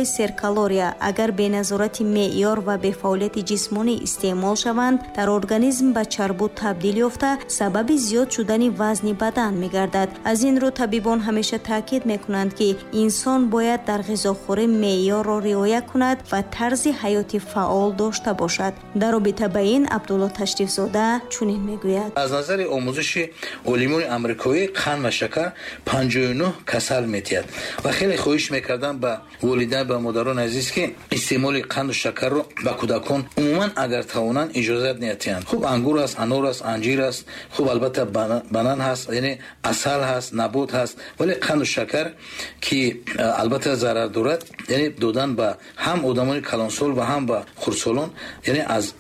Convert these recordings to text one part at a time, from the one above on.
Хӯрокҳои серкалория агар бе назорати меъёр ва бе фаъолияти ҷисмонӣ истеъмол шаванд, дар организм ба чарбу табдил ёфта, сабаби зиёд шудани вазни бадан мегардад. Аз ин рӯ табибон ҳамеша таъкид мекунанд, ки инсон бояд дар ғизохӯрӣ меъёрро риоя кунад ва тарзи ҳаёти фаъол дошта бошад. Дар робита ба ин Абдулло Ташрифзода чунин мегӯяд: аз назари омӯзиши олимони амрикоӣ қанд ва шакар 59 касал метиҳад ва хеле хоҳиш мекардам ба волидайн, ба модарони азиз, ки истеъмоли қанду шакарро ба кӯдакон умуман агар тавонанд иҷозат надиҳанд. Хуб, ангур аст, анор аст, анҷир аст, хуб, албатта банан ҳаст, яъне асал ҳаст, набот ҳаст, вале қанду шакар ки албатта зарар дорад, яъне додан ба ҳам одамони калонсол ва ҳам ба хурдсолон, яъне аз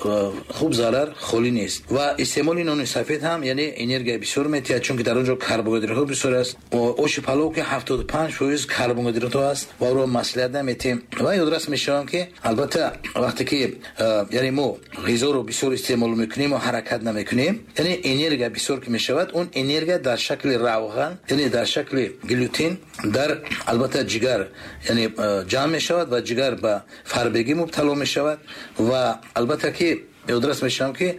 хуб зарар холӣ нест. Ва истеъмоли нони сафед ҳам яъне энергия бисёр метиҳад, чунки дар он ҷо карбогидратҳо бисёр аст. Оши палов ки 75% карбогидратҳо аст ва ӯро маслиҳат наметиҳем. Ва ёдрас мешавам, ки албатта вақте ки яъне мо ғизоро бисёр истеъмол мекунем ва ҳаракат намекунем, яъне энергия бисёр ки мешавад, он энергия дар шакли равған, яъне дар шакли глютен дар албатта ҷигар яъне ҷамъ мешавад ва ҷигар ба фарбегӣ мубтало мешавад. Ва албатта ки ёдрас мешавам, ки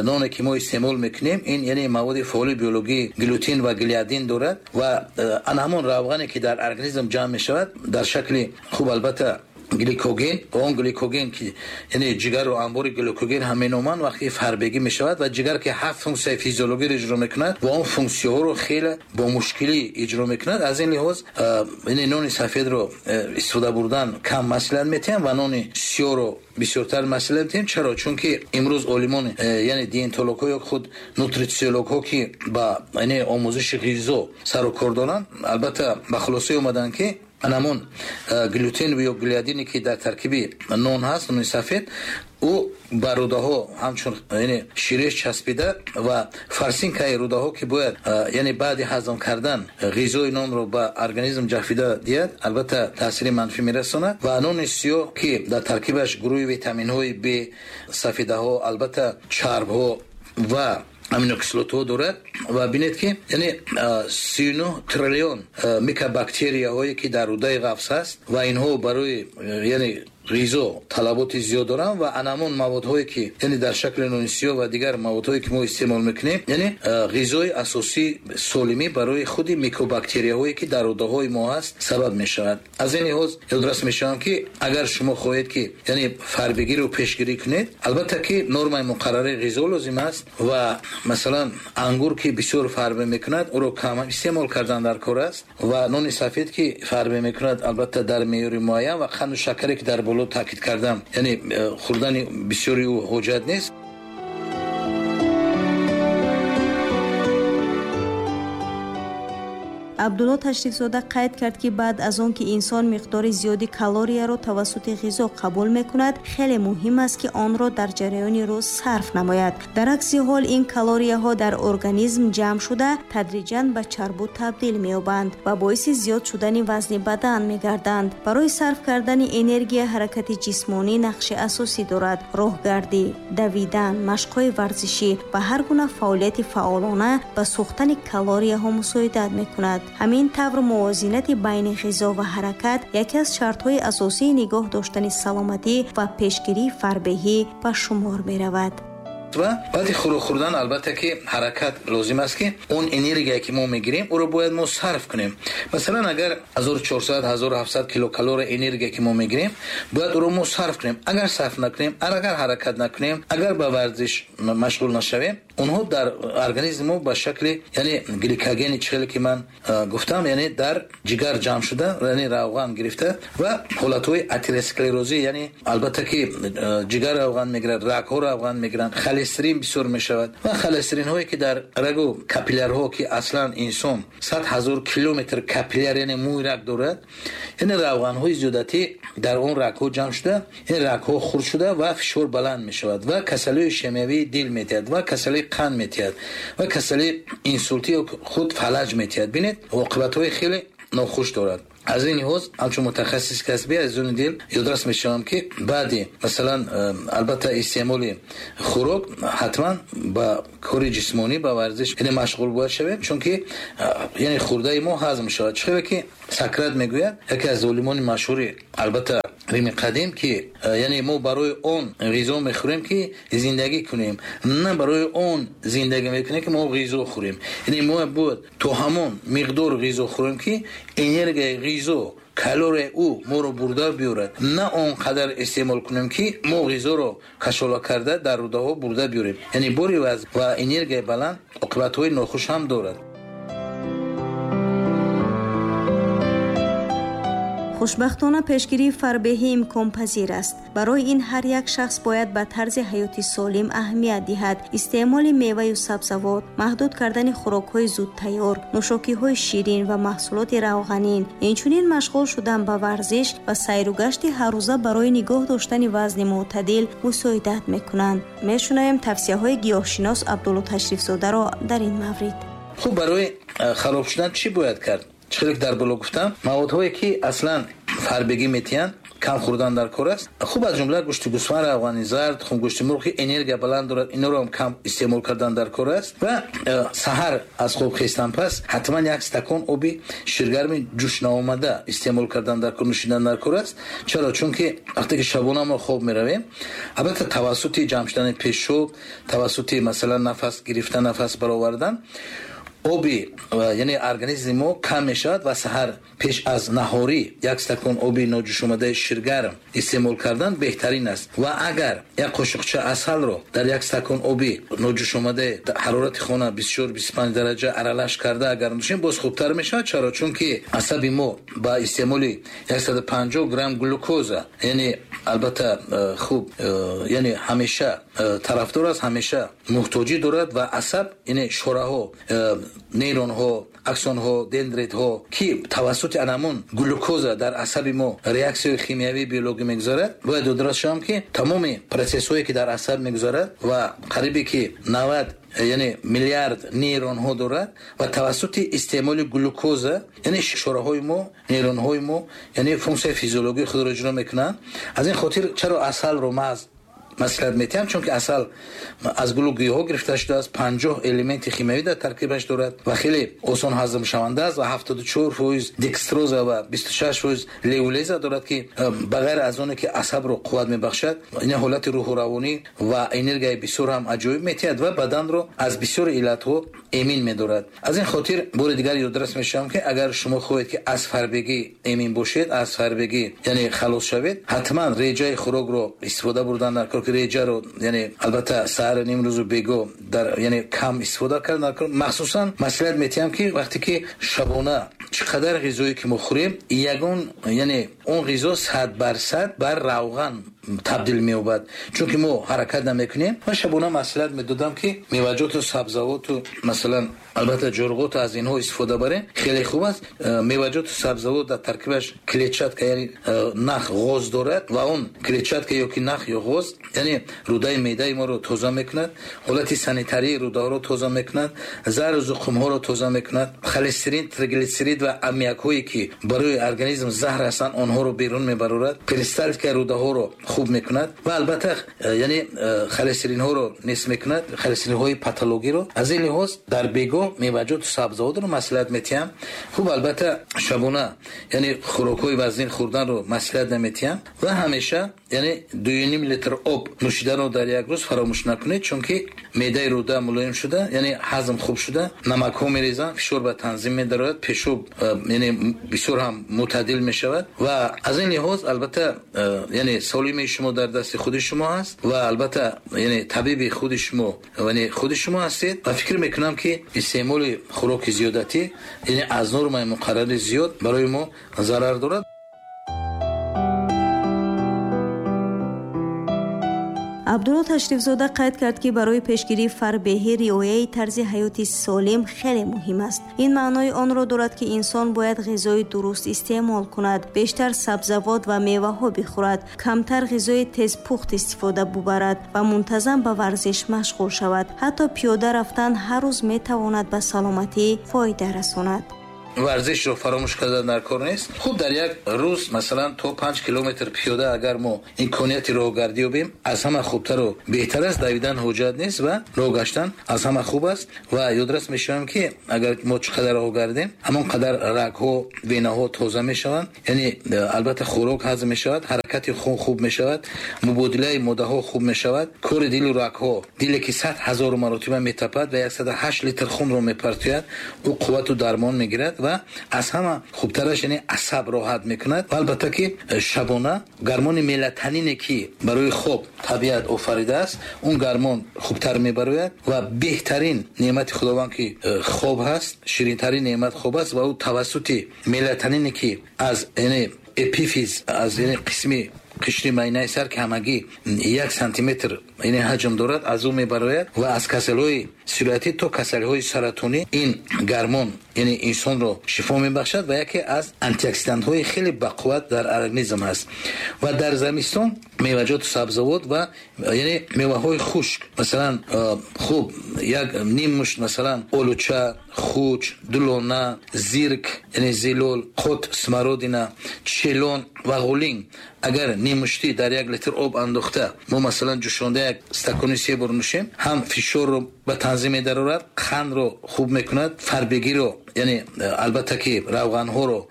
ноне ки мо истеъмол мекунем, ин яъне маводи фаъоли биологии глютен ва глиадин дорад ва ана ҳамон равғане ки дар организм ҷамъ мешавад дар шакли хуб албатта гликоген, ва он гликоген ки яъне ҷигарро анбори гликоген ҳам меноманд, вақте фарбегӣ мешавад ва ҷигар ки 7 функсияи физиологиро иҷро мекунад ва он функсияҳоро хеле бо мушкилӣ иҷро мекунад. Аз ин лиҳоз яъне нони сафедро истифода бурдан кам маслиҳат метиҳам ва нони сиёҳро бисёртар маслиҳат метиҳем. Чаро? Чунки имрӯз олимон, яъне диетологҳо ё худ нутрициологҳо, ки ба яъне омӯзиши ғизо сару кор доранд, албатта ба хулосае омаданд, ки анамон глютен ё глиадине ки дар таркиби нон ҳаст, нони сафед, ӯ ба рӯдаҳо ҳамчун яъне ширеш часпида ва фарсинкаи рӯдаҳо, ки бояд яъне баъди ҳазм кардан ғизои нонро ба организм ҷафида диҳад, албатта таъсири манфӣ мерасонад. Ва нони сиёҳ, ки дар таркибаш гурӯҳи витаминҳои Б, сафедаҳо, албатта чарбҳо ва аминокислотаҳо дорад. Ва бинед, ки яъне 39 триллион микробактерияҳое ки дар рӯдаи ғафс ҳаст ва инҳо барои яъне ғизо талаботи зиёд доранд ва анамон маводҳое ки яъне дар шакли нони сиёҳ ва дигар маводҳое ки мо истеъмол мекунем, яъне ғизои асосии солимӣ барои худи микробактерияҳое ки дар рӯдаҳои мо ҳаст сабаб мешавад. Аз ин лиҳоз ёдрас мешавам, ки агар шумо хоҳед, ки яъне фарбегиро пешгирӣ кунед, албатта ки нормаи муқаррарии ғизо лозим аст ва масалан ангур, ки бисёр фарбе мекунад, ӯро кам истеъмол кардан дар кор аст ва нони сафед, ки фарбе мекунад, албатта дар меъёри муайян, ва қанду шакаре, ки дар боло таъкид кардам, яъне хӯрдани бисёри ӯ ҳоҷат нест. Абдулло Ташрифзода қайд кард, ки баъд аз он ки инсон миқдори зиёди калорияро тавассути ғизо қабул мекунад, хеле муҳим аст, ки онро дар ҷараёни рӯз сарф намояд. Дар акси ҳол ин калорияҳо дар организм ҷамъ шуда, тадриҷан ба чарбу табдил меёбанд ва боиси зиёд шудани вазни бадан мегарданд. Барои сарф кардани энергия ҳаракати ҷисмонӣ нақши асосӣ дорад. Роҳгардӣ, давидан, машқҳои варзишӣ ва ҳар гуна фаъолияти фаъолона ба сӯхтани калорияҳо мусоидат мекунад. Ҳамин тавр мувозинати байни ғизо ва ҳаракат яке аз шартҳои асосии нигоҳ доштани саломатӣ ва пешгирии фарбеҳӣ ба шумор меравад. Ва баъди хӯрок хӯрдан албатта ки ҳаракат лозим аст, ки он энергия, ки мо мегирем, ӯро бояд мо сарф кунем. Масалан, агар 1400, 1700 килокалория энергия, ки мо мегирем, бояд ӯро мо сарф кунем. Агар сарф накунем, агар ҳаракат накунем, агар ба варзиш машғул нашавем, онҳо дар организми мо ба шакли яъне гликогени, чихеле ки ман гуфтам, яъне дар ҷигар ҷамъ шуда, яъне равған гирифта ва ҳолатҳои атеросклерозӣ, яъне албатта ки ҷигар равған мегирад, рагҳо равған мегиранд, холестерин бисёр мешавад ва холестеринҳое, ки дар рагу капиллярҳо, ки аслан инсон 100 000 километр капилляр, яъне мӯи раг дорад, яъне равғанҳои зиёдатӣ дар он рагҳо ҷамъ шуда, ин рагҳо хурд шуда ва фишор баланд мешавад ва касалиҳои ишемиявии дил метиҳад ва касалии қанд метиҳад ва касалии инсултӣ ё худ фалаҷ метиҳад. Бинед, оқибатҳои хеле нохуш дорад. Аз ин лиҳоз ҳамчун мутахассиси касбӣ, азизони дил, ёдрас мешавам, ки баъди масалан албатта истеъмоли хӯрок ҳатман ба кори ҷисмонӣ, ба варзиш яъне машғул бояд шавем, чунки яъне хӯрдаи мо ҳазм мешавад. Чӣ хеле ки Сократ мегӯяд, яке аз олимони машҳури албатта Рими қадим, ки яъне мо барои он ғизо мехӯрем, ки зиндагӣ кунем, на барои он зиндагӣ мекунем, ки мо ғизо хӯрем. Яъне мо бояд то ҳамон миқдор ғизо хӯрем, ки энергияи ғизо, калорияи ӯ моро бурда биёрад, на он қадар истеъмол кунем, ки мо ғизоро кашола карда дар рӯдаҳо бурда биёрем. Яъне бори вазн ва энергияи баланд оқибатҳои нохуш ҳам дорад. Хушбахтона, пешгирии фарбеҳӣ имконпазир аст. Барои ин ҳар як шахс бояд ба тарзи ҳаёти солим аҳамият диҳад. Истеъмоли меваю сабзавот, маҳдуд кардани хӯрокҳои зудтайёр, нӯшокиҳои ширин ва маҳсулоти равғанин, инчунин машғул шудан ба варзиш ва сайру гашти ҳаррӯза барои нигоҳ доштани вазни мӯътадил мусоидат мекунанд. Мешунавем тавсияҳои гиёҳшинос Абдулло Ташрифзодаро дар ин маврид. Хуб, барои хароб шудан чӣ бояд кард? Чӣ хеле дар боло гуфтам, маводҳое ки аслан фарбегӣ метиҳанд, кам хӯрдан дар кор аст. Хуб, аз ҷумла гӯшти гӯсфанд, равғани зард, хумгӯшти мурғ, ки энергия баланд дорад, инҳоро ҳам кам истеъмол кардан дар кор аст. Ва саҳар аз хоб хестан пас ҳатман як стакон оби ширгарми ҷӯш наомада истеъмол кардан дар кор, нӯшидан дар кор аст. Чаро? Чунки вақте ки шабона мо хоб меравем, албатта тавассути ҷамъ шудани пешоб, тавассути масалан нафас гирифтан, нафас баровардан, оби яъне организми мо кам мешавад ва саҳар пеш аз наҳорӣ як стакон оби ноҷӯшомадаи ширгарм истеъмол кардан беҳтарин аст. Ва агар як қошуқча асалро дар як стакон оби ноҷӯшомадаи ҳарорати хона 24-25 дараҷа аралаш карда агар нӯшем, боз хубтар мешавад. Чаро? Чунки асаби мо ба истеъмоли 150 грамм глюкоза, яъне албатта хуб, яъне ҳамеша тарафдор аст, ҳамеша муҳтоҷӣ дорад ва асаб, яъне шораҳо, нейронҳо, аксонҳо, дендритҳо, ки тавассути анамун глюкоза дар асаби мо реаксияи химиявии биологӣ мегузарад, бояд ёдрас шавам, ки тамоми процессҳое ки дар асаб мегузарад ва қарибе ки 90 яъне миллиард нейронҳо дорад ва тавассути истеъмоли глюкоза, яъне шораҳои мо, нейронҳои мо, яъне функсияи физиологии худро иҷро мекунанд. Аз ин хотир чаро асалро маҳз маслиҳат метиҳам? Чунки асал аз гулу гиёҳҳо гирифта шудааст, 50 элементи химиявӣ дар таркибаш дорад ва хеле осон ҳазмшаванда аст ва 74% декстроза ва 26% левулеза дорад, ки ба ғайр аз оне ки асабро қувват мебахшад, ин ҳолати рӯҳу равонӣ ва энергияи бисёр ҳам аҷоиб метиҳад ва баданро аз бисёри иллатҳо эмин медорад. Аз ин хотир бори дигар ёдрас мешавам, ки агар шумо хоҳед, ки аз фарбегӣ эмин бошед, аз фарбегӣ яъне халос шавед, ҳатман реҷаи хӯрокро истифода бурдан дар кор, ки реҷаро яъне албатта саҳар, нимрӯзу бего дар яъне кам истифода кардан дар кор. Махсусан маслиҳат метиҳам, ки вақте ки шабона чӣ қадар ғизое ки мо хӯрем, ягон яъне он ғизо 100% бар равған табдил меёбад, чунки мо ҳаракат намекунем. Ман шабона маслиҳат медодам, ки меваҷоту сабзавоту, масалан, албатта ҷурғоту аз инҳо истифода барем, хеле хуб аст. Меваҷоту сабзавот дар таркибаш клетчатка, яъне нах, ғоз дорад ва он клетчатка ё ки нах ё ғоз, яъне рӯдаи меъдаи моро тоза мекунад, ҳолати санитарии рӯдаҳоро тоза мекунад, зару зуқумҳоро тоза мекунад, холестерин, триглитсерид ва аммиакҳое ки барои организм заҳр ҳастанд, онҳоро берун мебарорад, перисталтикаи рӯдаҳоро хуб мекунад ва албатта яъне холестеринҳоро нест мекунад, холестеринҳои патологиро. Аз ин лиҳоз дар бего меваҷоту сабзавотро маслиҳат метиҳам. Хуб, албатта шабона яъне хӯрокҳои вазнин хӯрданро маслиҳат наметиҳам ва ҳамеша яъне 2,5 литр об нӯшиданро дар як рӯз фаромӯш накунед, чунки меъдаи рӯда мулоим шуда, яъне ҳазм хуб шуда, намакҳо мерезанд, фишор ба танзим медарояд, пешоб яъне бисёр ҳам мӯътадил мешавад. Ва аз ин лиҳоз албатта яъне солимии шумо дар дасти худи шумо аст ва албатта яъне табиби худи шумо, яъне худи шумо ҳастед. Ва фикр мекунам, ки истеъмоли хӯроки зиёдатӣ, яъне аз нормаи муқаррарӣ зиёд, барои мо зарар дорад. Абдулло Ташрифзода қайд кард, ки барои пешгирии фарбеҳӣ риояи тарзи ҳаёти солим хеле муҳим аст. Ин маънои онро дорад, ки инсон бояд ғизои дуруст истеъмол кунад, бештар сабзавот ва меваҳо бихӯрад, камтар ғизои тезпухт истифода бубарад ва мунтазам ба варзиш машғул шавад. Ҳатто пиёда рафтан ҳар рӯз метавонад ба саломатӣ фоида расонад. Варзишро фаромӯш кардан дар кор нест. Хуб, дар як рӯз масалан то 5 километр пиёда агар мо имконияти роҳгардӣ ёбем, аз ҳама хубтару беҳтар аст. Давидан ҳоҷат нест ва роҳ гаштан аз ҳама хуб аст. Ва ёдрас мешавам, ки агар мо чӣ қадар роҳ гардем, ҳамон қадар рагҳо, венаҳо тоза мешаванд, яъне албатта хӯрок ҳазм мешавад, ҳаракат. Ҳаракати хун хуб мешавад, мубодилаи моддаҳо хуб мешавад, кори дилу рагҳо, диле ки 100 ҳазору маротиба метапад ва 108 литр хунро мепартояд, ӯ қуввату дармон мегирад ва аз ҳама хубтараш, яъне асаб роҳат мекунад. Ва албатта ки шабона гормони мелатонине ки барои хоб табиат офаридааст, он гормон хубтар мебарояд ва беҳтарин неъмати Худованд ки хоб ҳаст, ширинтарин неъмат хоб аст ва ӯ тавассути мелатонине ки аз, яъне эпифиз, аз, яъне қисми қишри майнаи сар ки ҳамагӣ 1 сантиметр, яъне ҳаҷм дорад, аз ӯ мебарояд ва аз касалиҳои сироятӣ то касалиҳои саратонӣ ин гормон, яъне инсонро шифо мебахшад ва яке аз антиоксидантҳои хеле бақувват дар организм аст. Ва дар замистон меваҷоту сабзавот ва, яъне меваҳои хушк, масалан, хуб, як ним мушт, масалан, олуча, хуч, дулона, зирк, яъне зилол, қот, смородина, челон ва ғулинг, агар ниммуштӣ дар 1 литр об андохта, мо, масалан, ҷӯшонда як стакони се бор нӯшем, ҳам фишорро ба танзим медарорад, қандро хуб мекунад, фарбегиро, яъне албатта ки равғанҳоро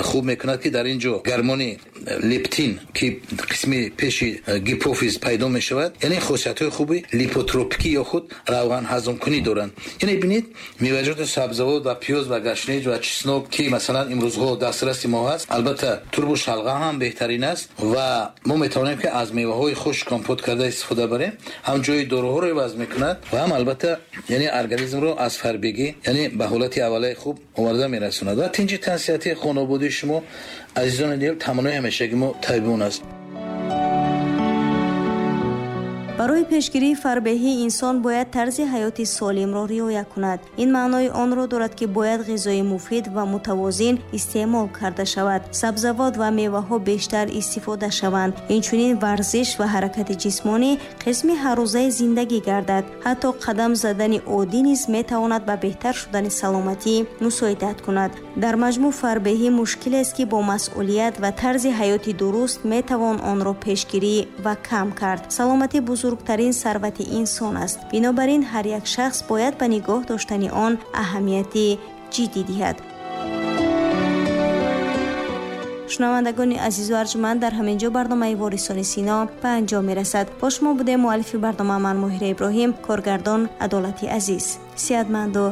хуб мекунад, ки дар ин ҷо гормони лептин ки қисми пеши гипофиз пайдо мешавад, яъне хосиятҳои хуби липотропикӣ ё худ равған ҳазмкунӣ доранд. Яъне бинед, меваҷоти сабзавот ва пиёз ва гашнеҷ ва чеснок ки, масалан, имрӯзҳо дастраси мо ҳаст, албатта турбу шалғам ҳам беҳтарин аст ва мо метавонем ки аз меваҳои хушк компот карда истифода барем, ҳам ҷои доруҳоро иваз мекунад ва ҳам албатта, яъне организмро аз фарбегӣ, яъне ба ҳолати аввалаи хуб оварда мерасонад. Ва тинҷи тансиҳатии хонободии шумо, азизони дил, таманнои ҳамешагӣ мо табибон аст. Барои пешгирии фарбеҳӣ инсон бояд тарзи ҳаёти солимро риоя кунад. Ин маънои онро дорад, ки бояд ғизои муфид ва мутавозин истеъмол карда шавад, сабзавот ва меваҳо бештар истифода шаванд, инчунин варзиш ва ҳаракати ҷисмонӣ қисми ҳаррӯзаи зиндагӣ гардад. Ҳатто қадам задани оддӣ низ метавонад ба беҳтар шудани саломатӣ мусоидат кунад. Дар маҷмӯъ, фарбеҳӣ мушкилест, ки бо масъулият ва тарзи ҳаёти дуруст метавон онро пешгирӣ ва кам кард. Саломатӣ бузургтарин сарвати инсон аст. Бинобар ин ҳар як шахс бояд ба нигоҳ доштани он аҳамияти ҷиддӣ диҳад. Шунавандагони азизу арҷманд, дар ҳамин ҷо барномаи Ворисони Сино ба анҷом мерасад. Бо шумо будем муаллифи барнома ман, Моҳира Иброҳим, коргардон Адолати Азиз. Сеҳатманду